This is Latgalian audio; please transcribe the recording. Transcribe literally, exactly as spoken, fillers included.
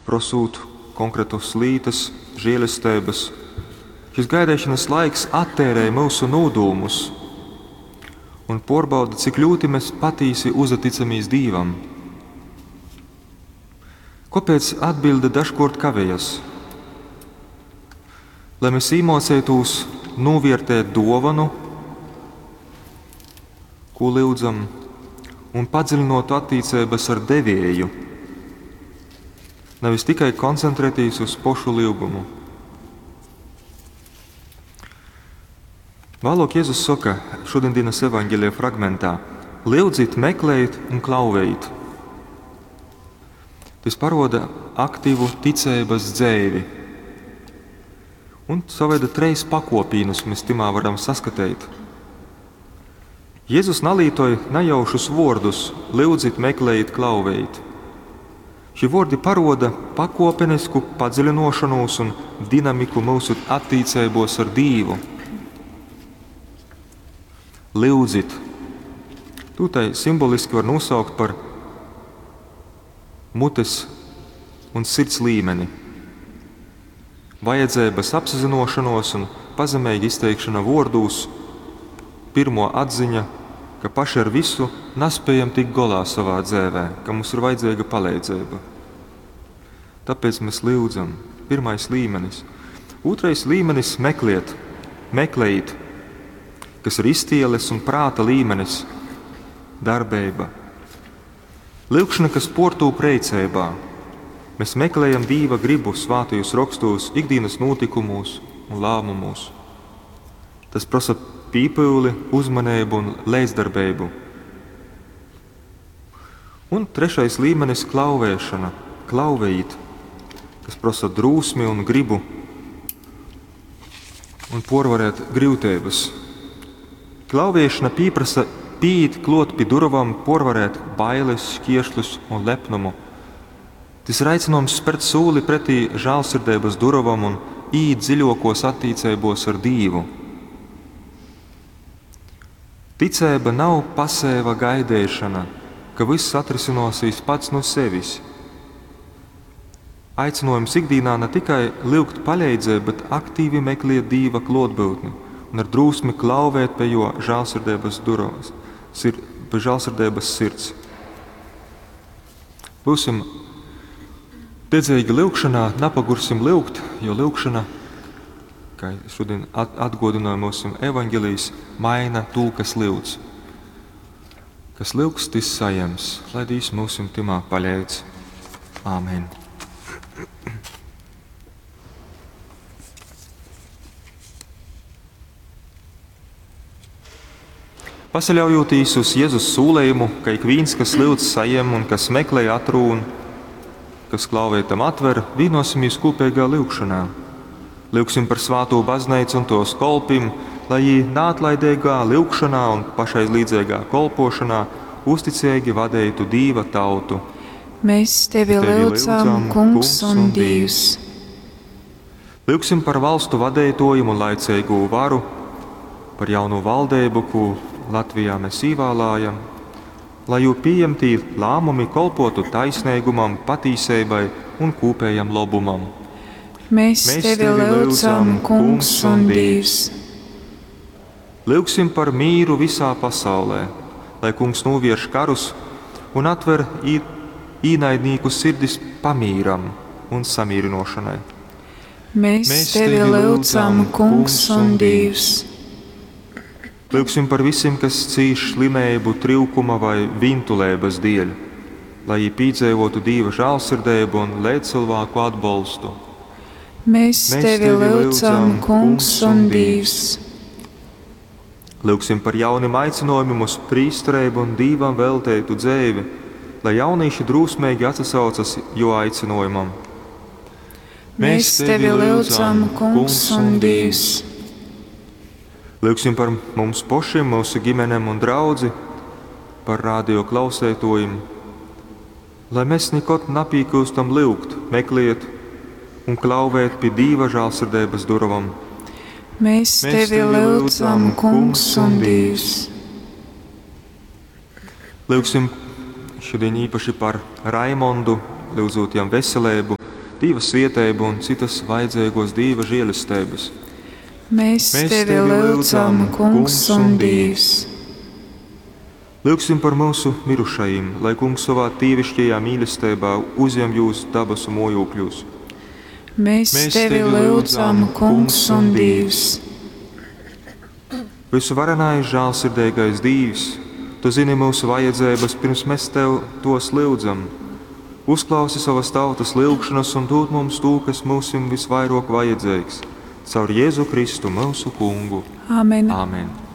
Prosūt konkretus lītas, žēlesteibas. Šis gaideišanas laiks attērē myusu nūdūmus un pārbauda, cik ļoti mēs patīsi uzticamies Dīvam. Kāpēc atbilde dažkārt kavējas? Lai mēs iemācītos novērtēt dāvanu, ko lūdzam, un padziļinātu attiecības ar devēju, nevis tikai koncentrēties uz pošu lūgumu. Vēlāk Jēzus saka šodienas evaņģēlija fragmentā: Lūdzit, meklējiet un klauvējiet. Tas paroda aktīvu ticības dzēvi. Un savaida treis pakopīnus mēs timā varam saskatīt. Jēzus nalītoja nejaušus vārdus: lūdzit, meklējiet, klauvējiet. Šie vārdi paroda pakopenisku padziļinošanos un dinamiku mūsu attiecībos ar Dievu. Lūdzit. Tū tai simboliski var nosaukt par mutes un sirds līmeni. Vajadzības apzinošanos un pazemīga izteikšana vārdūs, pirmo atziņa, ka paši ar visu nespējam tikt golā savā dzēvē, ka mums ir vajadzīga palīdzība. Tāpēc mēs lūdzam. Pirmais līmenis. Otrais līmenis – meklēt, meklējiet, kas ir iztieles un prāta līmenis, darbība. Lūkšana, kas portūp reicībā. Mēs meklējam Dieva gribu svātajos rakstos, ikdienas notikumos un lēmumos. Tas prasa pīpūli, uzmanību un līdzdarbību. Un trešais līmenis – klauvēšana, klauvējīt, kas prasa drūsmi un gribu un porvarēt grūtības. Klauvēšana pieprasa pīīt klot pie durvām, porvarēt bailes, šķiešļus un lepnumu. Tas ir aicinājums spērt sūli pretī žēlsirdības durvām un īt dziļākos attiecībos ar Dievu. Ticība nav pasēva gaidīšana, ka viss atrisinosies pats no sevis. Aicinājums ikdienā ne tikai lūgt palīdzību, bet aktīvi meklēt Dieva klātbūtni un ar drūsmi klauvēt pie jo žēlsirdības durvas, sir, pie žēlsirdības sirds. Būsim dedzīgi lūgšanā, napagursim lūgt, jo lūgšana, kā šodien atgodināja mūsu evaņģēlijs, maina to, kas lūdz. Kas lūgs, tis saņems, lai Dievs mūsim timā paļēdz. Āmen. Pasaļaujoties uz Jēzus sūlējumu, ka ik viens, kas lūdz, saņem un kas meklē, atrūn, kas klauvē tam atver, vienosimies kopīgā lūgšanā. Lūgsim par svāto baznīcu un tos kolpim, lai jī neatlaidīgā lūgšanā un pašaizlīdzīgā kolpošanā uzticīgi vadītu Dīva tautu. Mēs tevi, tevi lūdzam, Kungs un Dievs. Lūgsim par valstu vadītojiem un laicīgo varu, par jaunu valdību, ko Latvijā mēs īvālājam, lai jū pieņemtī lēmumi kolpotu taisnīgumam, patīsībai un kopējam lobumam. Mēs, Mēs tevi lūdzam, Kungs un Dievs. Lūgsim par mīru visā pasaulē, lai Kungs novērš karus un atver īnaidnieku sirdis pamīram un samierinošanai. Mēs, Mēs tevi lūdzam, Kungs un Dievs. Lūgsim par visiem, kas cīš slimību, trūkuma vai vintulības dēļ, lai viņi piedzīvotu Dieva žēlsirdību un līdzcilvēku atbalstu. Mēs, Mēs tevi lūdzam, Kungs un Dievs. Lūgsim par jauniem aicinājumiem uz prīsterību un Dievam veltītu dzīvi, lai jaunieši drūsmīgi atsaucas jo aicinājumam. Mēs tevi lūdzam, Kungs un Dievs. Lūgsim par mums pašiem, mūsu ģimenēm un draudzi, par radio klausētojiem, lai mēs nekad napīkūstam lūgt, meklēt un klauvēt pie Dieva žēlsirdības durvām. Mēs, Mēs tevi lūdzam, Kungs un Dievs. Lūgsim šodien īpaši par Raimondu, lūdzot jam veselību Dīva svieteibu un cytas vajadzeigōs Dīva žēlesteibas. Mēs, Mēs tevi lyudzam, Kungs un Dīvs. Lyugsim par myusu mirušajim, lai Kungs sovā dīviškajā mīlesteibā uzjem jūs dabasu mōjūkļūs. Mēs, Mēs tevi lyudzam, Kungs un Dīvs. Vysuvarenais žālsirdeigais Dīvs, Tu zini myusu vajadzeibas, pirms mēs Tev tos lyudzam. Uzklausi sovas tautas lyugšanas un dūd mums tū, kas myusim visvairok vajadzeigs. Caur Jēzu Kristu, myusu Kungu. Amen. Amen.